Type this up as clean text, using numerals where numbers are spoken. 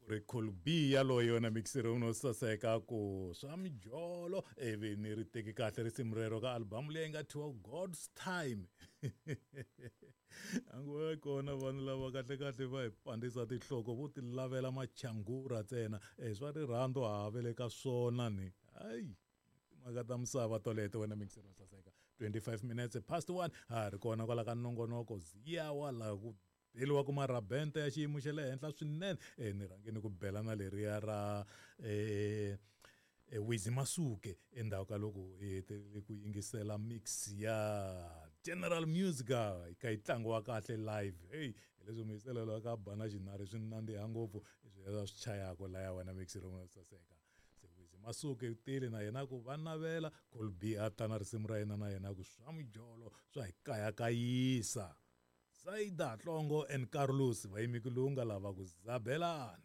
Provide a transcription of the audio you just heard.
Ku ri Cool B yaloye yona mixer no saseka ku swa mijolo ivi ni ri teki kahle risimu rero ka album leyi nga thyiwa God's Time. A ngo kona vanhu lava kahle kahle va hi pandzisa tinhloko vo ti lavela machangura ntsena e swa rirhandzu ha ve le ka swona ni hayi timhaka ta misava toleto wena mixer no saseka. 25 minutes past 1 ha ri kona kwala ka nongonoko ziyawa laha ku beliwa ku marabente ya xiyimo xa le henhla swinene. E ni rhange ni ku bela na leriya ra Wizi Masuke endzhaku ka loko hi hetelele ku yingisela mix ya General Musica yi kha yi tlangiwa kahle live. Hey, hi leswi muyiselo ka ba na xinari swi nandziha ngopfu leswi swi chayaka laya wena mix rin'we saseka. Se Wizi Masuke u tile na yena ku va navela Cool B a ta na risimu ra yena na yena ku swa mijolo swa hi kayakayisa. Saida Hlongo and Carlos va yime ku lunga lava ku zabelani.